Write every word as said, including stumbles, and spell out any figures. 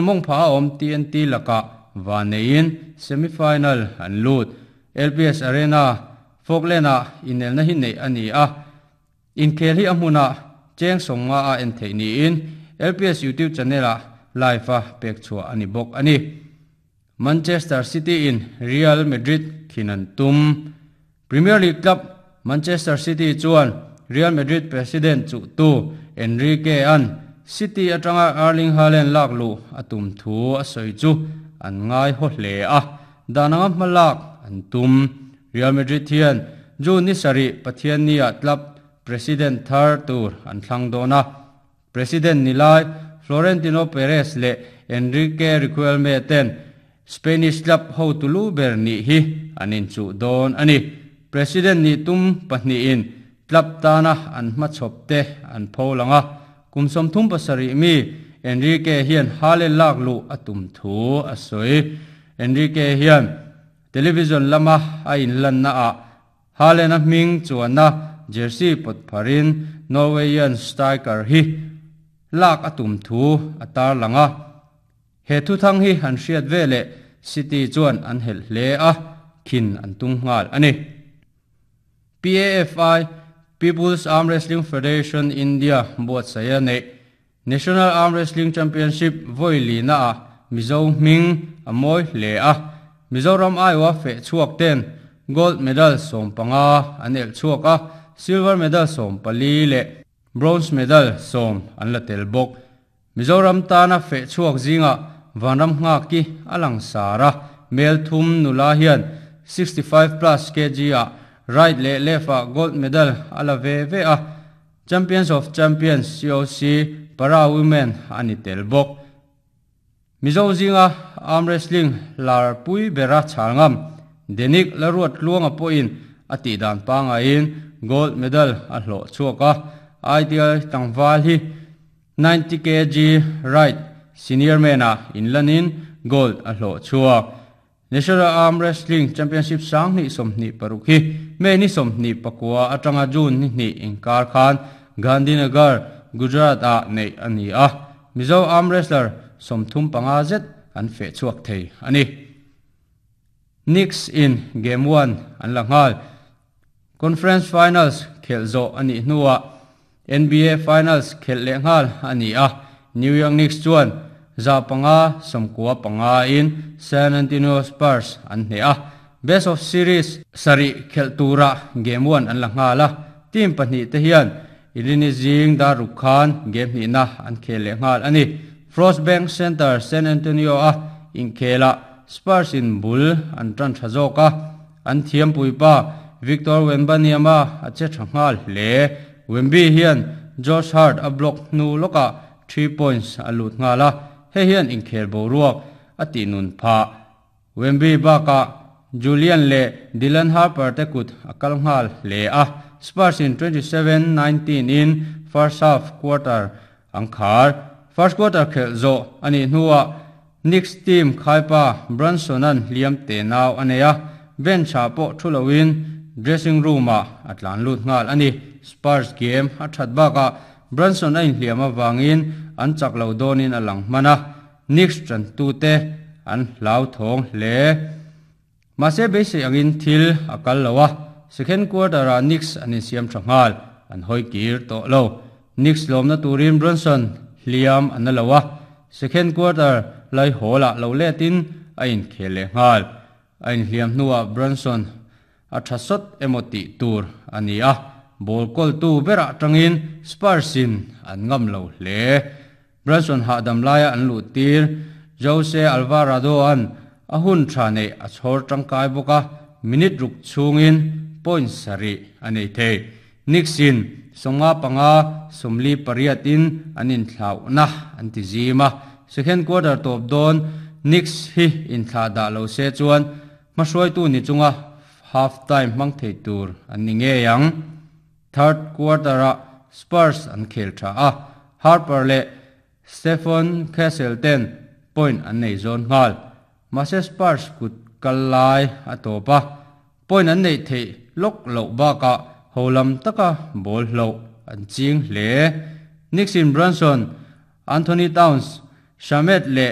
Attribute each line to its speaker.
Speaker 1: Mong pha om T N T laka vanein semifinal an lut. L P S Arena, Falkland a inelna hi nei ani a. Inkhel hi a hmuna cheng songa a en thei niin L P S YouTube channel a live a pek chhuah ani bawk ani. Manchester City in Real Madrid khinan tum. Premier League club Manchester City chuan Real Madrid president chu tu Enrique an City atanga Erling Haaland lak lu atum thu a soi chu an ngai ho hle a, dananga hmalak an tum. Real Madrid hian June ni sari, Pathian ni a club president thar tur an thlang dona. President nilai Florentino Perez le Enrique Riquelme ten Spanish club ho tulu ber ni hi anin chu don ani. President ni tum pahnih in club tana an hma chhop te an pholanga. Kum som thum pasari mi Enrique hian Haaland lak lu atum thu a soi. Enrique hian television lama a in lan na a Haaland a hming chuana jersey pot pharin Norwegian striker hi lak atum thu atar langa. He thu thang hi han hriat vele City chuan an hel hle a, khin an tung ngal ani. P A F I, People's Arm Wrestling Federation India buat saya nei National Arm Wrestling Championship voili na a Mizo hming a moi hle a. Mizoram aiwa fe chuak ten gold medal som panga an el chuak a, silver medal som pali le bronze medal som an la tel bawk. Mizoram tana fe chuak zinga vanram nga ki alang sara. Mel thum nula hian sixty-five plus kilograms a right le left a gold medal ala ve ve a. Champions of Champions C O C para women ani tel bawk. Mizo zinga arm wrestling lar pui bera chalngam Denik Laruat Luanga po in ati dan panga in gold medal a hlo chuaka. Ideal tangwal hi ninety kilograms right senior mena in lanin gold a hlo chuak. National Arm Wrestling Championship sang ni som ni parukhi me ni som ni pakua atanga June ni ni inkar khan Gandhinagar, Gujarat a nei ani a. Mizo arm wrestler som thum panga zet an fe chuak thei ani. Knicks in game one an langal. Conference Finals khel zo ani hnuwa N B A Finals khel le ngal ani a. New York Knicks chuan za panga somkua panga in San Antonio Spurs an hne a. Best of series sari khel tura game one an la ngala. Team pahnih te hian ilini jing da rukhan game hi na an khel le ngal ani. Frost Bank Center, San Antonio a inkhela Spurs in bul an tran thazoka. An thiam puipa Victor Wembanyama a che thangal hle. Wemby hian Josh Hart a block nu loka three points alut ngala. He hian inkhel bo ruak ati nun pha. Wemby baka Julian le Dylan Harper te kut akal ngal hle a. Spurs in twenty-seven nineteen in first half quarter angkhar. First quarter khel zo ani hnuwa Knicks team khaipa Brunson an liam te naw aneya. Bench ha po thulowin dressing room a atlan lut ngal ani. Spurs game a that baka Brunson a in hliam awangin an chak lo donin alang mana. Knicks tran tu te an hlau thong hle, mase be se angin thil akal lowa. Second quarter a Knicks an in siam thangal, an hoi kir to lo. Knicks lomna turin Brunson hliam an lowa. Second quarter lai hola lo letin a in khele ngal. A in hliam hnuwa Brunson a thasot emoti tur ani a. Ball kol tu bera tangin Spurs in an ngam lo hle. Brunson ha dam laia an lu tir Jose Alvarado an a hun tha nei a chhor tangkai boka. Minute ruk chungin point sari anei thei. Knicks in songa panga somli pariat in anin thlau na an ti zima. Second quarter top don Knicks hi in thla da lo se chuan hmahruai tu ni chunga half time mang thei tur an ni nge yang. Third quarter a Spurs an khel tha a. Harper le Stephen Castle ten point an nei zon ngal, mase Spurs kut kalai a topa. Point an nei thei lok lo ba ka holam taka ball lo an ching hle. Knicks in Brunson, Anthony Towns, Shamet le